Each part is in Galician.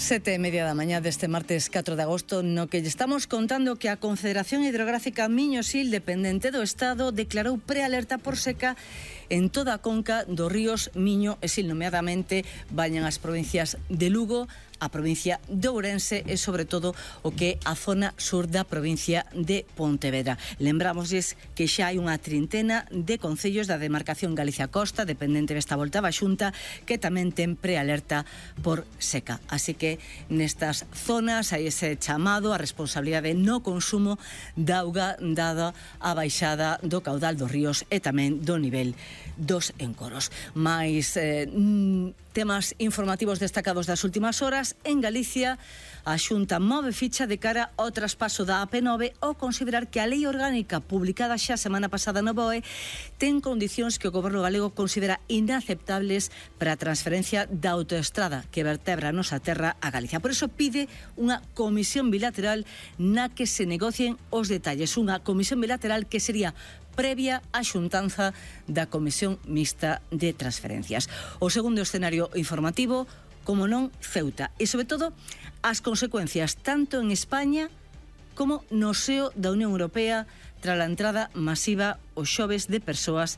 7:30 da mañá deste martes 4 de agosto, no que lle estamos contando que a Confederación Hidrográfica Miño-Sil, dependente do Estado, declarou prealerta por seca en toda a conca dos ríos Miño e Sil, nomeadamente bañan as provincias de Lugo, a provincia de Ourense e, sobre todo, o que é a zona sur da provincia de Pontevedra. Lembrámosles que xa hai unha trintena de concellos da demarcación Galicia-Costa, dependente desta volta da Xunta, que tamén ten prealerta por seca. Así que nestas zonas hai ese chamado a responsabilidade no consumo de auga dada a baixada do caudal dos ríos e tamén do nivel dos encoros. Mais temas informativos destacados das últimas horas. En Galicia, a Xunta move ficha de cara ao traspaso da AP9 ao considerar que a lei orgánica publicada xa semana pasada no BOE ten condicións que o goberno galego considera inaceptables para a transferencia da autoestrada que vertebra a nosa terra a Galicia. Por iso pide unha comisión bilateral na que se negocien os detalles. Unha comisión bilateral que sería previa á xuntanza da Comisión Mixta de Transferencias. O segundo escenario informativo, como non, Ceuta. E, sobre todo, as consecuencias tanto en España como no seo da Unión Europea tras a entrada masiva os xoves de persoas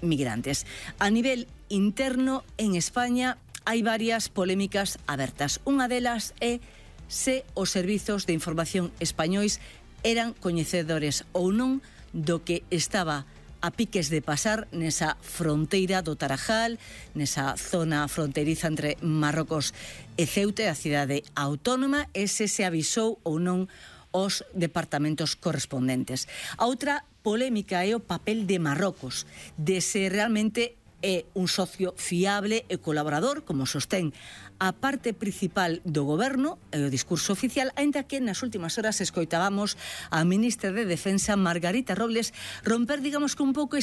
migrantes. A nivel interno, en España, hai varias polémicas abertas. Unha delas é se os servizos de información españois eran coñecedores ou non do que estaba a piques de pasar nesa fronteira do Tarajal, nesa zona fronteriza entre Marrocos e Ceuta, a cidade autónoma, e se avisou ou non os departamentos correspondentes. A outra polémica é o papel de Marrocos, de se realmente é un socio fiable e colaborador, como sostén a parte principal do goberno e o discurso oficial, aínda que nas últimas horas escoitábamos a ministra de Defensa, Margarita Robles, romper, digamos que un pouco